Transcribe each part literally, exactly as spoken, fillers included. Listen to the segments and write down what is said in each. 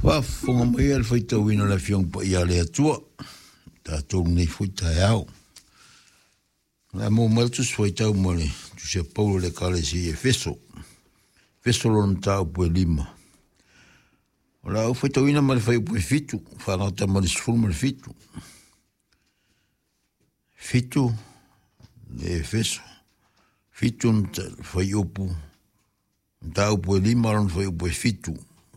Faafofoga mai le faitauina o le Afioga Paia a le Atua, tatou nei foi taeao. O le a maua mai le Tusi Faitau ma le Tusi a Paulo i le Ekalesia i Efeso. Efeso lona mataupu e lima. O le a ou faitauina mai le fuaiupu e fitu, faagata ma le sefulu ma le fitu. Fitu le Efeso, fitu fuaiupu, mataupu e lima lona fuaiupu e fitu,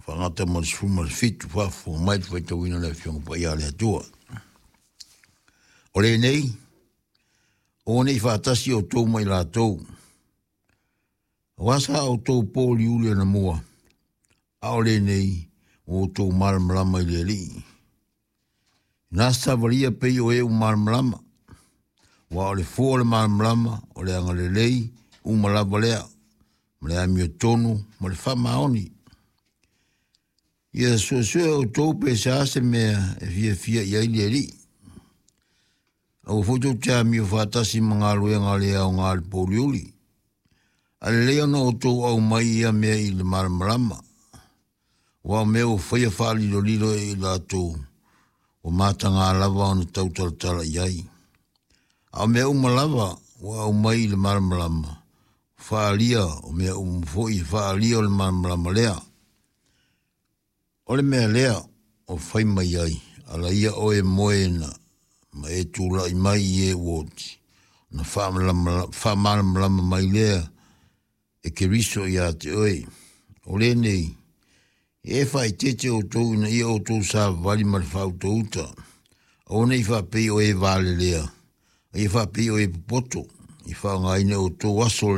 faagata ma le sefulu ma le fitu, faafofoga mai le faitauina o le Afioga Paia a le Atua. O lenei, aua ne i faatasi outou ma i latou, aua sa outou pouliuli anamua, a o lenei ua outou malamalama i le Alii. Na savalia pei o e ua malamalama, aua o le fua o le malamalama o le agalelei uma lava lea, ma le amiotonu ma le faamaoni. Ia suesue outou pe sa se mea e fiafia i ai le Alii. Aua foi tou te amio faatasi ma galuega le aoga i le pouliuli. Ae lelei ona outou aumai ia mea i le malamalama, aua o mea ua faia faalilolilo e i latou ua mataga lava ona tautalatala i ai. A o mea uma lava ua aumai i le malamalama, faaalia o mea uma foi e faaalia o le malamalama lea. O le mea lea o fai mai ai, ala ia oe e moe na ma e tulai mai i e ua oti, ona faamalamalama mai lea e Keriso ia te oe. O lenei, e faaeteete outou ina ia outou savavali ma le faautauta, aua ne i faapei o e valelea, a ia faapei o e popoto, i faaaogaina e outou aso o